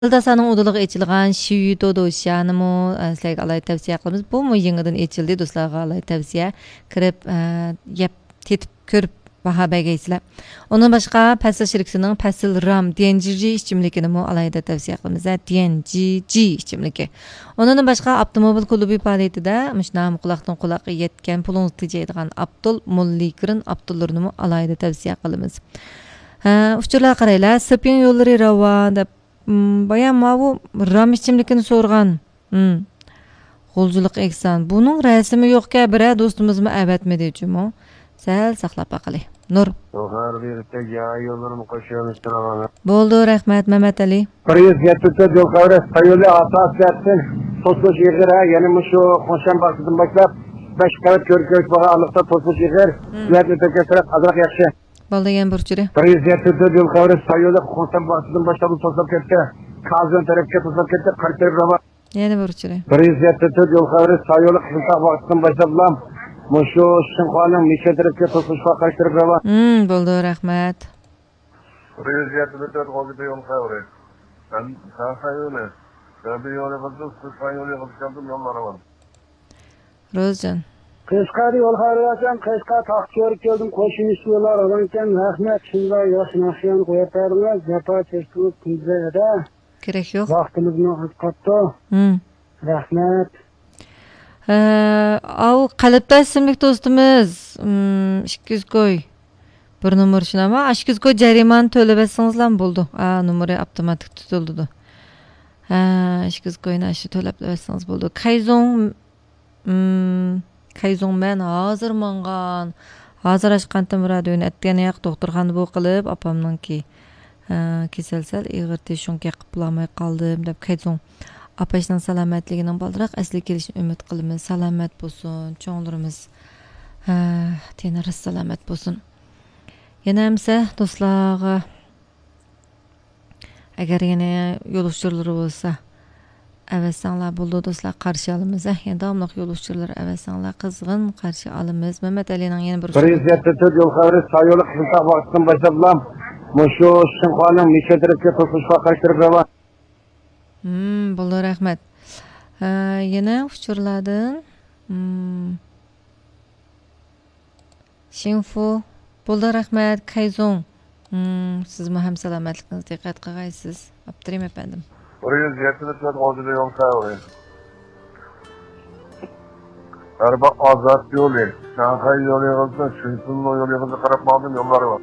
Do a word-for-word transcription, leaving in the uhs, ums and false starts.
دىلداسانىڭ ئۇدۇلىغا ئېچىلغان شيۈتو دوشيانىمۇ، ئە، سىلەرگە ئالاھىدە تەۋسىيە قىلىمىز. بۇمۇ يېڭىدىن ئېچىلدى، دوستلارغا ئالاھىدە تەۋسىيە. كىرىپ، ئە، يەپ، تېتىپ كۆرۈپ باھا بەرگەيسىلەر. ئۇنىڭدىن باشقا، پەسىل شىركىتىنىڭ پەسىل رام دىيەنجىجى ئىچىملىكىنىمۇ ئالاھىدە تەۋسىيە قىلىمىز. ھە، دىيەنجىجى ئىچىملىكى. ئۇنىڭدىن باشقا، ئاپتوموبىل كۇلۇبى پائالىيىتىدە مۇشۇ نامى قۇلاقتىن قۇلاققا يەتكەن، پۇلىڭىزنى تېجەيدىغان ئاپتول موللىگرىن ئاپتوللىرىنىمۇ ئالاھىدە تەۋسىيە قىلىمىز. ھە، ئۇچۇرلارغا قارايلى. سېپىڭ يوللىرى راۋان دەپ، م، بايا ماۋۇ رام ئىچىملىكىنى سورىغان. م. غۇلجىلىق ئېھسان. بۇنىڭ رەسىمى يوقكەن، بىرەر دوستىمىزمۇ ئەۋەتمىدى جۇمۇ. سەل ساقلاپ باقىلى. نۇر. يول خەۋىرى بېرىپتە، يا يوللىرىمۇ قوشۇۋېلىشتۇرۇڭ. بولدى، رەھمەت، مەمەت ئەلى. بىر يۈز يەتتە تۆت يول خەۋىرى، سايولى ئاساسىيەتتىن توسۇلۇش ئېغىر، ھە، يەنە مۇشۇ قوڭشەن باغچىسىدىن باشلاپ بەش قەۋەت كۆرۈك كۆرۈش بولغان ئارىلىقتا توسۇلۇش ئېغىر. م. سۈرئەتنى تۆكەن سۈرئەت ئازراق ياخشى. بولدى، يەنە بىر ئۇچۇرى. بىر يۈز يەتتە تۆت يول خەۋىرى، سايولى قوڭشەن باغچىسىدىن باشلاپ توسۇلۇپ كەتتى. كازىن تەرەپكە توسۇلۇپ كەتتى، قارشى تەرەپ راۋان. يەنە بىر ئۇچۇرى. بىر يۈز يەتتە تۆت يول خەۋىرى، سايولى قىزىلتاغ باغچىسىدىن باشلاپلا مۇشۇ شىنخۇانىڭ مىشەن تەرەپكە توسۇلۇشقا قارشى تەرەپ راۋان. م، بولدى، رەھمەت. بىر يۈز يەتتە تۆت غۇلجا يول خەۋىرى. سەن، سەن سايولى. سەبىي يولى قىزىل، سىز سايولى قىزىل كەلدىم، يوللار راۋان. روزجان. قەشقەردە يول خەۋىرى بەرسەم، قەشقەر تاختىكۆرۈپ كەلدىم، قوشۇمچە يوللار راۋانكەن، رەھمەت، شۇنداق ياخشى ناخشىلارنى قويۇپ بەردىڭلار، جاپا چەكتىڭىز، كۈندە ئەدە. كېرەك يوق. ۋاقتىمىزمۇ ئاز قاپتۇ. ھىم. رەھمەت. ھە، ئاۋۇ قەلبداش ئىسىملىك دوستىمىز، ھىم، ئىككى يۈز كوي. بىر نومۇر شۇنداقمۇ؟ ئىككى يۈز كوي جەرىمانە تۆلەپ بەرسىڭىزلا بولىدۇ. ھە، نومۇرى ئاپتوماتىك تۇتۇلىدۇ. ھە، ئىككى يۈز كوينى ئاشۇ تۆلەپ بەرسىڭىز بولىدۇ. كايزۇڭ مم، كايزۇڭ مەن ھازىر ماڭغان. ھازىر ئاچقانتىم رادىيونى، ئەتىگەن ياق دوختۇرخانىدا بۇ قىلىپ، ئاپامنىڭكى، ھە، كېسەل سەل ئېغىردى، شۇڭا گەپ قىلالماي قالدىم، دەپ كايزۇڭ ئاپاشنىڭ سالامەتلىكىنىڭ بالدۇرراق ئەسلىگە كېلىشىنى ئۈمىد قىلىمىز. سالامەت بولسۇن، چوڭلىرىمىز، ھە، تېنى راست سالامەت بولسۇن. يەنە ئەمسە دوستلارغا ئەگەر يەنە يول ئۇچۇرلىرى بولسا، ئەۋەتسەڭلار بولىدۇ، دوستلار، قارشى ئالىمىز. ھە، يەنە داۋاملىق يول ئۇچۇرلىرى ئەۋەتسەڭلار، قىزغىن قارشى ئالىمىز. مەمەت ئەلىنىڭ يەنە بىر بىر يۈز يەتتە تۆت يول خەۋىرى، سايولى قىزىلتاغ باغچىسىدىن باشلاپلا مۇشۇ شىنخۇانىڭ مىشەن تەرەپكە توسۇلۇشقا قارشى تەرەپ راۋان. ھىم، بولدى، رەھمەت. ھە، يەنە ئۇچۇرلاردىن، ھىم. شىڭفۇ. بولدى، رەھمەت، كايزۇڭ. مم، سىزمۇ ھەم سالامەتلىكىڭىزگە دىققەت قىلغايسىز. ئاپتىرىم ئەپەندىم. بىر يۈز يەتتە تۆت غۇلجا يول خەۋىرى. ئەربا ئازاد يولى، شاڭخەي يولى يىغىلسا، شۈنسىنلو يولى يىغىلسا قاراپ ماڭدىم، يوللار بار.